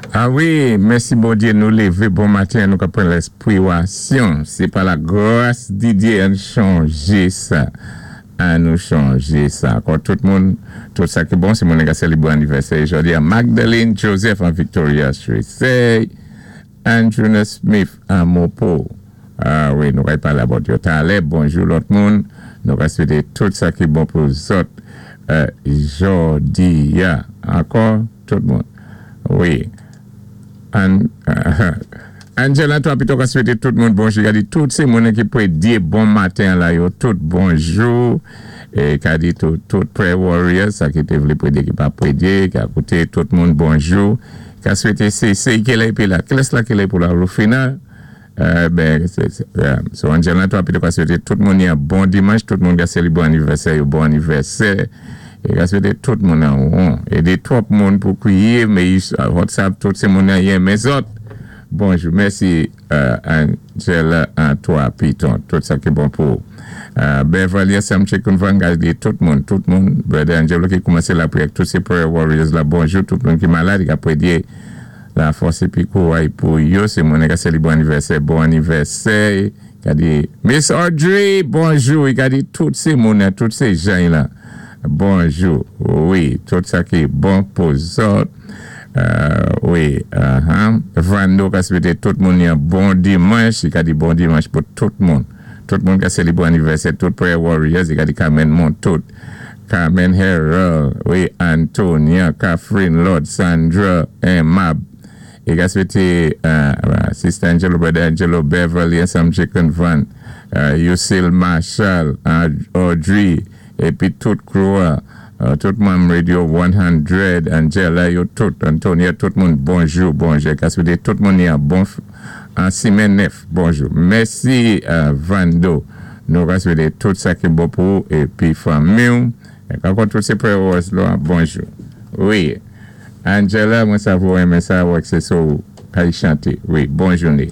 A wi, mèsi Bondyé, nou lévé bon maten, nou ka pran lèspwiwasyon. Sé pa la gras di Dyé. Ann chonjé sa. An nou chonjé sa. Ankò tout moun, tout sa ki bon, sé moun ka sélébwé anivèsè jòdi a: Magdalene Joseph an Victoria Street, Andrew Smith an Mopo. A wi, nou kay palé about yo talè. Bonjou lòt moun. Nou ka swété tout sa ki bon pou zòt jòdi a. Ankò tout moun. Wi. An Angela toi pito ka swété tout moun bonjou. Ka di tout sé moun ki pwédyé bon maten la yo tout bonjou. É ka di tout tout prayer warriors sa ki té vlé pwédyé, ki pa pwédyé, ka kouté, tout moun bonjou. Ka swété sé ki lè épi la. Kilès la ki lè pou la Rufina? Ben, so Angela toi pito ka swété tout moun yon bon dimanch, tout moun ka sélébwé anivèsè yo bon anivèsè. É ka swété tout moun an won. É dé twòp moun pou kwiyé, mé WhatsApp tout sé moun an yenmen zòt. Bonjou, mèsi Angela Antoine Piton, tout sa ki bon pou Beverly Sam Chicken Van ka di tout moun, tout moun, Brother Angelo ki koumansé lapriyè, tout sé prayer warriors la, bonjou, tout moun ki malad, ka pwédyé la fòs épi kouray pou yo, sé moun ka sélébwé anivèsè, bon anivèsè, ka di Miss Audrey, bonjou, i ka di tout sé moun, tout sé jan la, bonjou, wi, tout sa ki bon pou zòt, wi, Vando ka swété tout moun yon bon dimanch, i ka di bon dimanch pou tout moun, tout moun ka sélébwé anivèsè, tout prayer warriors, i ka di Carmen Montout, Carmen Harold, wi, Antonia, Catherine Lord, Sandra, Mab, i ka swété Sister Angelo, Brother Angelo, Beverly, Sam Chicken Van, Yusil Marshall, Audrey, épi tout crew, tout moun Radio 100, Angela, yo tout, Antonia, tout moun, bonjou, bonjou. Ka swété tout moun yon bon an simenn nèf, bonjou. Mèsi, Vando. Nou ka swété tout sa ki bon pou épi fanmi. Ankò tout sé prayer warriors la, bonjou. Wi. Angela, mwen sa vou renmen sa, wè sé so kay chanté. Wi, bon jouné.